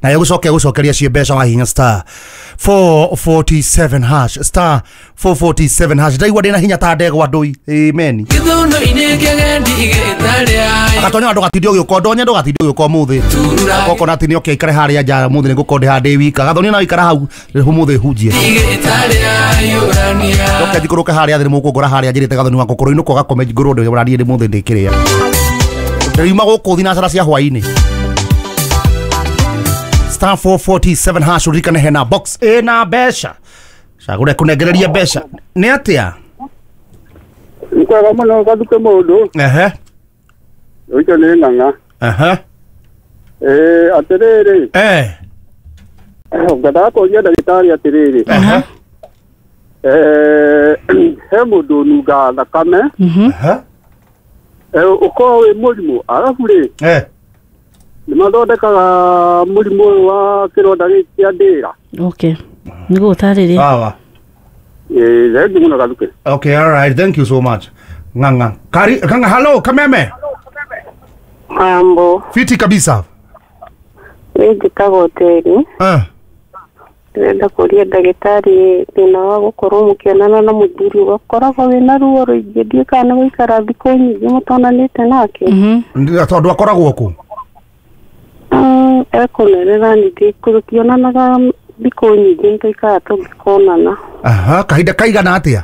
Na egũcoke gũcokeria ciĩ mbeca wahihinya star 447 hash, star 447 hash. Ndaigua ndĩna hinya ta ndegwa ndũi. Amen. Gĩthũnũ-inĩ kĩgendi igĩtarĩa. Agatonya ndũgatinde ũgĩũka, ndonye ndũgatinde ũgĩũka ũmũthĩ. Turura. Goko atĩ nĩ oke aikare harĩa nja ũmũthĩ, nĩ ngũkorwo ndĩ handĩ wika. Gathonia na ikara hau ũmũthĩ hunjie. Igĩtarĩa yũrania. Ndoke njikũrũke harĩa thĩ, nĩ mũkũngora harĩa njĩrĩte gathoni wakwa kũrũ inũka ũgakome ngũrwo ndĩ ũrariĩ ndĩ mũthĩ ndĩkĩrĩa. Ndĩriuma gũkũ thinacara cia hwaĩ-inĩ. Star 447 hash, ũririkane hena box ĩna mbeca, cagũre kũnengereria mbeca nĩ atĩa. Nĩ kwega mũno gathuke mũndũ. Ehe. Ũcio nĩ ng'ang'a. Ehe. Ĩĩ, atĩrĩrĩ, ngwendaga kũria ndagĩtarĩ atĩrĩrĩ, Ehe. He mũndũ ũnungaga thakame, Ehe. Ũkorwo wĩ mũrimũ, arabu rĩ, nĩ mathondekaga mũrimũ ũyũ wa kĩronda gĩkĩ kĩa ndĩra? Okay, nĩ gũtarĩria. Sawa. Ĩĩ, thengiũ mũno gathuke. Okay, all right, thank you so much, Ng'ang'a. Kari Ng'ang'a, hello Kameme. Mambo. Fiti kabisa. Nĩ njĩtagwo Teri. Ndĩrenda kũria ndagĩtarĩ thĩna wa gũkorwo mũkĩonana na mũthuri ũgakoragwo wĩna ruo rũingĩ, ndiũĩ kana nĩ gũikara thikũ nyingĩ mũtonanĩte nake. Tondũ akoragwo kũ? Ekũnene na ningĩ tũtionanaga thikũ nyingĩ, nĩ tũikaraga tũngĩkonana. Aha, kahinda kaigana atĩa?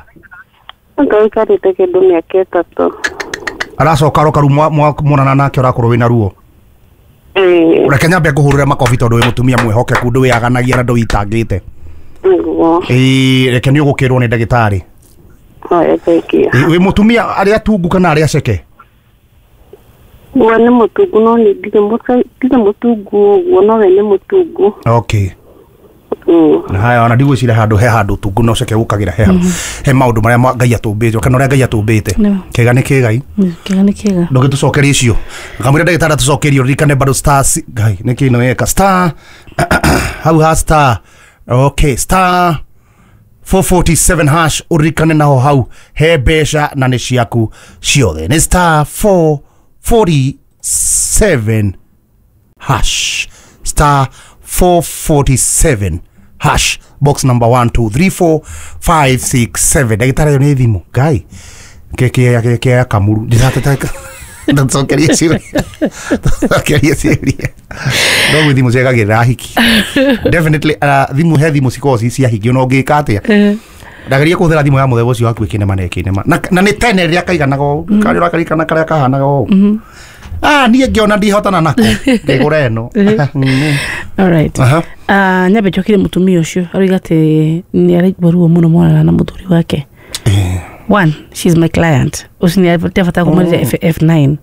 Tũikarĩte kĩndũ mĩaka 3. Aracoka aroka rĩu mwonana nake ũrakorwo wĩna ruo? Ĩĩ. Reke nyambe ngũhũrĩre makobi tondũ wĩ mũtumia mwĩhokeku, ndwĩyaganagia na ndũitangĩte. Nĩguo. Ĩĩ, reke nĩ ũgũkĩrwo nĩ ndagĩtarĩ. Haya, thengiũ. Ĩĩ, wĩ mũtumia arĩa tungu kana arĩa ceke? We nĩ mũtungu, no nĩ ndirĩ mũtungu ũguo, no we nĩ mũtungu. Okay. Haya, ona ndigwĩciria handũ he handũ tungu no ceke gũkagĩra he maũndũ marĩa Ngai atũmbĩte kana ũrĩa Ngai atũmbĩte. Nĩguo. Kĩega nĩ kĩgai. Kĩega nĩ kĩega. Ndũgĩtũcokerie icio kamwĩra ndagĩtarĩ atũcokerie. Ũririkane bado star Ngai nĩ kĩ ĩno yeka star hau ha star, okay, star 447 hash. Ũririkane naho hau he mbeca na nĩ ciaku ciothe, nĩ star 447 hash, star 447 hash, box number 1 2 3 4 5 6 7. Ndagĩtarĩ, ĩyo nĩ thimũ ngai keke kamuru ndĩrateta ndacokeria ciũria, ndacokeria ciũria, no gwĩ thimũ ciagagĩrĩra hiki definitely. Thimũ he thimũ cikoragwo ci cia hiki, ona ũngĩka atĩa ndageria kũhũthĩra thimũ ya mũthemba ũcio waku ĩkĩnema na ĩkĩnema na nĩ tene rĩrĩa kaiganaga ũũ, karĩa ũrakarikana karĩa kahanaga ũũ. Ah, niĩ ngĩona ndihotana nako ngĩgũra ĩno. Alright. Aha. Nyambe njokire mũtumia ũcio aroiga atĩ nĩ araigua ruo mũno monana na mũthuri wake. One, she's my client. Ũcio nĩ abata kũmarĩria F9.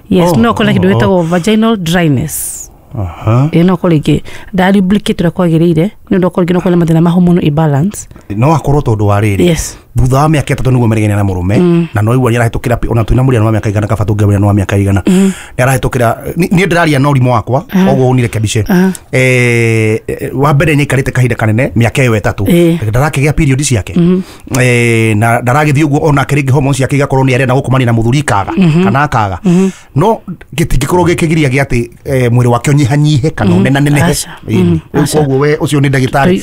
Yes. Oh, No korwo na kĩndũ oh. gĩtagwo vaginal dryness. Aha. Ĩ no korwo rĩngĩ ndarublicate ũrĩa kwagĩrĩire, nĩ ũndũ okorwo rĩngĩ no korwo na mathĩna ma hormonal imbalance. No akorwo tondũ wa rĩrĩ, thutha wa mĩaka 3 nĩguo meregene na mũrũme, na no igua nĩarahĩtũkĩra ona twĩna mũrĩano wa mĩaka igana, kaba tũngĩamũrĩano wa mĩaka igana nĩarahĩtũkĩra. Niĩ ndĩraria na ũrimũ wakwa, koguo ũnirekebishe. Wa mbere nĩaikarĩte kahinda kanene mĩaka ĩyo 3, ndarakĩgĩa period ciake, na ndaragĩthiĩ ũguo onake rĩngĩ hormones ciake igakorwo nĩ arenda gũkomania na mũthuri ikaga kana akaga, no gĩtingĩkorwo gĩkĩgiria gĩa atĩ mwĩrĩ wake ũnyihanyihe kana ũnenanenehe. Aca. Ĩni. Rĩu Aca. koguo we ũcio nĩ ndagĩtarĩ.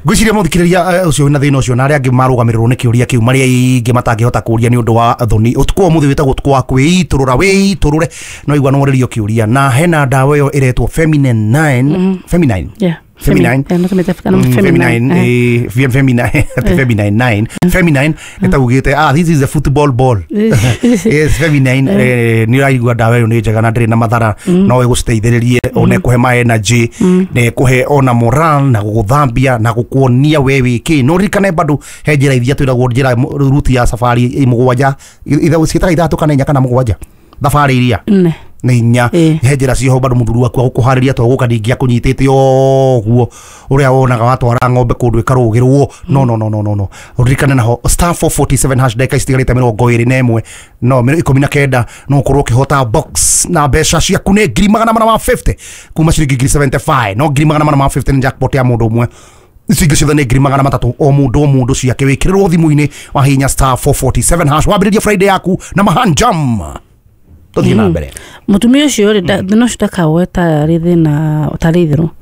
Ngwĩciria mũthikĩrĩria, ũcio wĩna thĩna ũcio na arĩa angĩ marũgamĩrĩrwo nĩ kĩũria kĩu, marĩa aingĩ matangĩhota kũria nĩ ũndũ wa thoni, ũtukũ wa ũmũthĩ wĩtagwo ũtukũ wa kwĩitũrũra, wĩitũrũre no igua no kĩũria, na hena ndawa ĩyo ĩretwo Feminine 9, Feminine. Feminine. Yeah, no tũmĩte kana Feminine, feminine. Feminine, ati feminine 9, feminine nĩtaugĩte, ah, this is a football ball. Yes, feminine. Nĩ ũraigua ndawa ĩyo nĩ njega na ndĩrĩ na mathara, no ĩgũciteithĩrĩrie ona ĩkũhe ma energy na ĩkũhe ona moral na gũgũthambia na gũkuonia we wĩ kĩ. No ririkane bado he njĩra iria twĩragwo njĩra ruti ya safari 7, ciĩtaga ithatũ kana inya kana mũgwanja, thabarĩ iria Nne. Nĩ inya. He njĩra cioho bado mũthuri waku agũkũharĩria, to gũka ningĩ akũnyitĩte ũguo ũrĩa wonaga watwara ng'ombe kũndũ ĩkarũgĩrwo. No, no, no, no, no, no, ũririkane naho star 447 hash, ndagĩka citigarĩte 21, no 19, no ũkorwo ũkĩhota box na mbeca ciaku nĩ 450,000 kuma ciringi 75,000, no 450,000 nĩ jackpot ya mũndũ ũmwe. Icio ingĩ ciothe nĩ 300,000 o mũndũ o mũndũ ciake, wĩkĩrĩrwo thimũ-inĩ wahihinya star 447 hash, wambĩrĩrie Friday yaku na mahanjam. Tũthiĩ na mbere. Mũtumia ũcio rĩ, thĩna ũcio ndakawoe tarĩ thĩna tarĩ itherũ.